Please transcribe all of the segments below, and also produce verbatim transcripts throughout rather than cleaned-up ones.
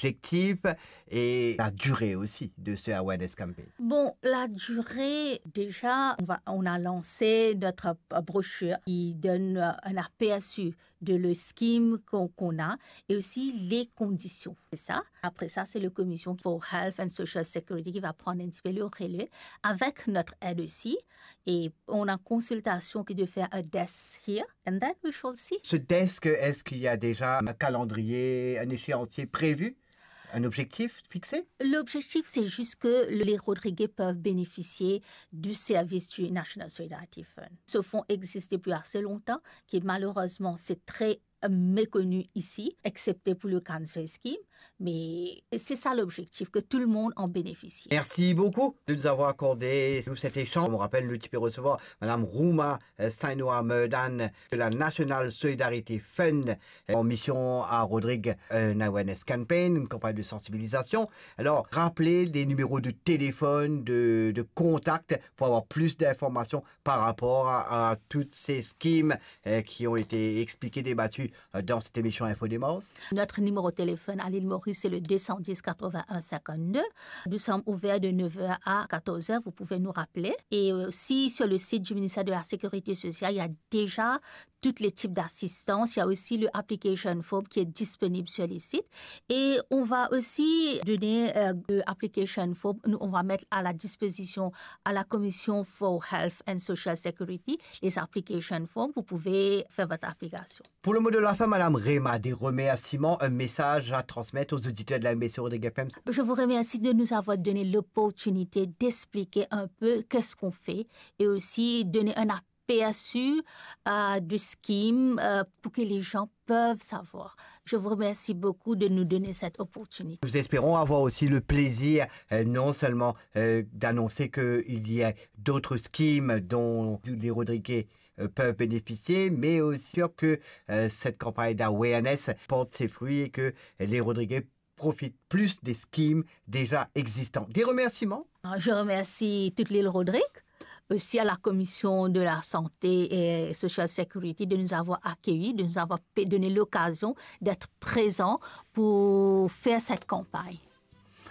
l'objectif et la durée aussi de ce awareness campaign ? Bon, la durée, déjà, on va, on a lancé notre brochures qui donne, euh, un aperçu de le scheme qu'on, qu'on a et aussi les conditions. C'est ça. Après ça, c'est le Commission for Health and Social Security qui va prendre un petit peu le relais avec notre aide aussi. Et on a consultation qui de faire un desk here, and then we shall see. Ce desk, est-ce qu'il y a déjà un calendrier, un échéancier prévu, un objectif fixé ? L'objectif, c'est juste que les Rodriguais peuvent bénéficier du service du National Solidarity Fund. Ce fonds existe depuis assez longtemps, qui malheureusement, c'est très méconnu ici, excepté pour le cancer scheme, mais c'est ça l'objectif, que tout le monde en bénéficie. Merci beaucoup de nous avoir accordé, nous, cet échange. On rappelle, nous, tu peux recevoir Madame Rouma, euh, Sainoa Murdan de la National Solidarity Fund, euh, en mission à Rodrigue, euh, une awareness campaign, une campagne de sensibilisation. Alors, rappelez des numéros de téléphone, de, de contact pour avoir plus d'informations par rapport à, à toutes ces schemes, euh, qui ont été expliquées, débattues, euh, dans cette émission Info Démence. Notre numéro de téléphone à l'île Maurice, c'est le deux cent dix quatre-vingt-un cinquante-deux. Nous sommes ouverts de neuf heures à quatorze heures. Vous pouvez nous rappeler. Et aussi, sur le site du ministère de la Sécurité sociale, il y a déjà tous les types d'assistance. Il y a aussi le application form qui est disponible sur le site. Et on va aussi donner, euh, le application form. Nous, on va mettre à la disposition à la Commission for Health and Social Security les application form. Vous pouvez faire votre application. Pour le mot de la fin, Madame Rema, des remerciements, un message à transmettre aux auditeurs de la M B C Rodrigue F M. Je vous remercie de nous avoir donné l'opportunité d'expliquer un peu qu'est-ce qu'on fait et aussi donner un aperçu, euh, du scheme, euh, pour que les gens peuvent savoir. Je vous remercie beaucoup de nous donner cette opportunité. Nous espérons avoir aussi le plaisir, euh, non seulement, euh, d'annoncer qu'il y a d'autres schemes dont les Rodriguais, euh, peuvent bénéficier, mais aussi que, euh, cette campagne d'awareness porte ses fruits et que les Rodriguais profitent plus des schemes déjà existants. Des remerciements. Je remercie toute l'île Rodrigue, aussi à la Commission de la Santé et Social Security de nous avoir accueillis, de nous avoir pe-, donné l'occasion d'être présents pour faire cette campagne.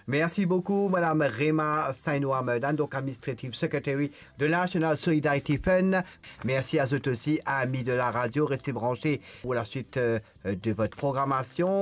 Merci beaucoup, Madame Rema Sainoa Murdan, donc Administrative Secretary de la National Solidarity Fund. Merci à vous aussi, amis de la radio. Restez branchés pour la suite, euh, de votre programmation.